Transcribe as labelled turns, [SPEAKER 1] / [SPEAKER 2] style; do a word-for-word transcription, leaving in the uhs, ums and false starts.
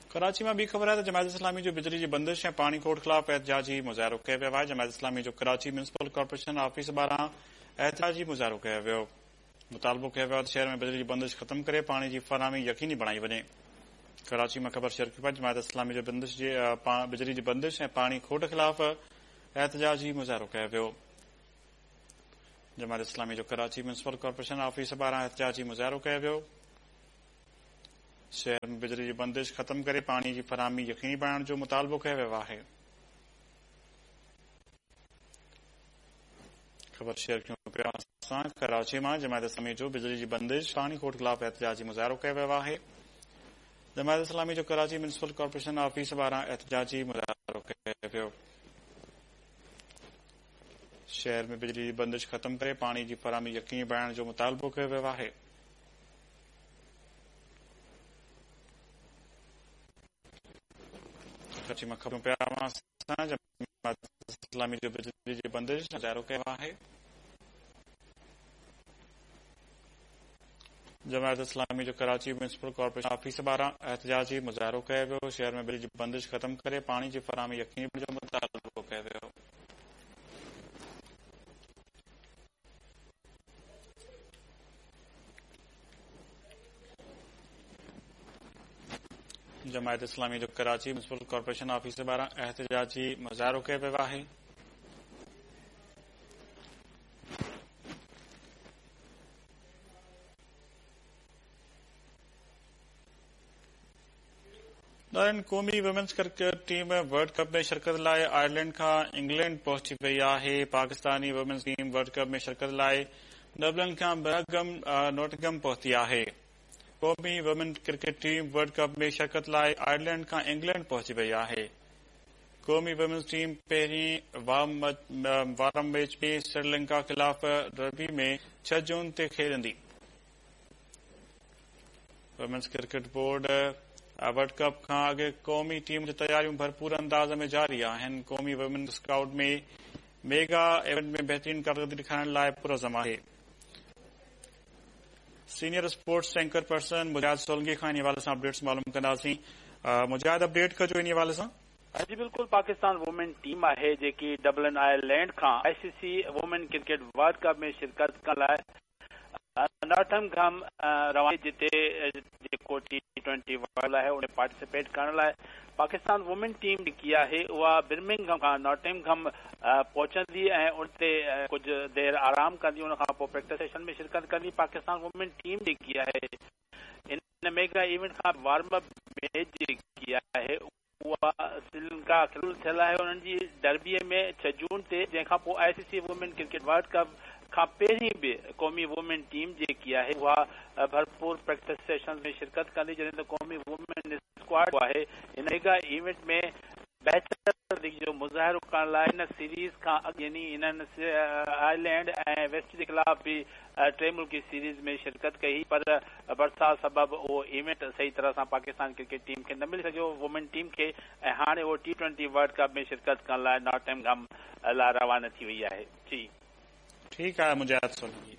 [SPEAKER 1] कराची मां ॿी ख़बर आहे त जमात इस्लामी जो बिजली जी बंदिश ऐं पाणी खोट ख़िलाफ़ एहतजाजी मुज़ाहिरो कयो वियो आहे। जमात इस्लामी जो कराची म्यूनिसिपल कॉर्पोरेशन ऑफिस ॿाहिरां एहतजाजी मुज़ाहिरो कयो वियो। मुतालबो कयो वियो त शहर में बिजली जी बंदिश ख़त्म करे पाणी जी फराहमी यकीनी बणाई वञे। कराची मां ख़बर शेयर कई जमात इस्लामी जो बंदिश जे बिजली जी बंदिश ऐं पाणी खोट ख़िलाफ़ एहतजाजी मुज़ाहिरो कयो वियो। जमात इस्लामी जो कराची म्यूनिसिपल कॉर्पोरेशन ऑफिस ॿाहिरां एहतजाजी मुज़ाहिरो कयो वियो। शहर में बिजली जी बंदिश ख़त्म करे पाणी जी फराहमी यकीनी बणाइण जो मुतालबो कयो वियो आहे। ख़बर शेयर कयूं पिया असां कराची मां जमात इस्लामी जो बिजली जी बंदिश पाणी खोट ख़िलाफ़ एहतजाजी मुज़ाहिरो कयो वियो आहे। जमात इस्लामी जो कराची म्यूनिसिपल कॉर्पोरेशन ऑफिस ॿाहिरां एहतजाजी मुज़ाहिरो कयो वियो। शहर में बिजली जी बंदिश ख़त्म करे पाणी जी फराहमी यकीनी बणाइण जो मुतालबो कयो वियो आहे। कराची मां ख़बरूं पिया असां जमात इस्लामी जो बिजली जी बंदिश मुज़ाहिरो कयो आहे। जमात इस्लामी जो कराची म्यूनिसिपल कॉर्पोरेशन ऑफिस ॿाहिरां एहतजाजी मुज़ाहिरो कयो वियो। शहर में बिजली जी बंदिश ख़त्म करे पाणी जी फराहमी यकीनी बणाइण जो मुतालबो कयो वियो। जमात इस्लामी जो कराची म्यूनिसिपल कॉर्पोरेशन ऑफिस ॿाहिरां एहतजाजी मुज़ाहिरो कयो वियो आहे। नारायण क़ौमी women's cricket team world cup में शिरकत लाइ आयरलैंड खां इंग्लैंड पहुची वई आहे। Pakistani women's team world cup में शिरकत लाइ डबलिन खां बर्मिंघम नॉटिंघम पहुती आहे। क़ौमी women cricket team world cup में शिरकत लाइ आयरलैंड खां इंग्लैंड पहुची वई आहे। क़ौमी वुमेन्स टीम पहिरीं वार्म मैच में श्रीलंका ख़िलाफ़ डर्बी में छह जून ते खेॾंदी। Women's cricket board world cup खां अॻु क़ौमी टीम जी तयारियूं भरपूर अंदाज़ में जारी आहिनि। क़ौमी वुमेन स्काउट में मेगा इवेंट में बहितरीन कारकर्दगी ॾेखारण लाइ पुरज़म आहे। Senior sports anchor person Mujahid Solangi खां इन हवाले सां अपडेट्स मालूम कंदासीं। मुजाहिद, अपडेट कजो इन हवाले सां।
[SPEAKER 2] जी बिल्कुलु, पाकिस्तान वुमेन टीम आहे जेकी डबलिन आयरलैंड खां I C C women cricket world cup में शिरकत करण लाइ नॉटिंघम रवानी, जिते जेको टी ट्वेंटी वर्ल्ड आहे उन पार्टिसिपेट करण लाइ पाकिस्तान वुमेन टीम जेकी आहे उहा बर्मिंघम खां नॉटिंघम पहुचंदी ऐं उते कुझु देरि आराम कंदी, उन खां पोइ प्रैक्टिस सेशन में शिरकत कंदी। पाकिस्तान वुमेन टीम जेकी आहे इन मेगा इवेंट खां वार्म अप मैच जेकी आहे उहा श्रीलंका ख़िलाफ़ थियल आहे उन्हनि जी डर्बीअ में छह जून ते, जंहिंखां पोइ I C C women cricket world cup खां पहिरीं बि क़ौमी वुमेन टीम जेकी आहे उहा भरपूर प्रैक्टिस सेशन में शिरकत कंदी। जॾहिं त क़ौमी वुमेन स्क्वाड आहे इन मेगा इवेंट में बहितर जो मुज़ाहिरो करण लाइ इन सीरीज़ खां अॻु यानी इन्हनि आयरलैंड ऐं वेस्ट जे ख़िलाफ़ बि टे मुल्की सीरीज़ में शिरकत कई, पर बरसाति सबबु उहो इवेंट सही तरह सां पाकिस्तान क्रिकेट टीम खे न मिली सघियो वुमेन टीम खे, ऐं हाणे उहो टी ट्वेंटी वर्ल्ड कप में शिरकत करण लाइ नॉटिंघम लाइ रवाना थी वई आहे। जी
[SPEAKER 1] ठीकु आहे मुजाहिद सोलंगी।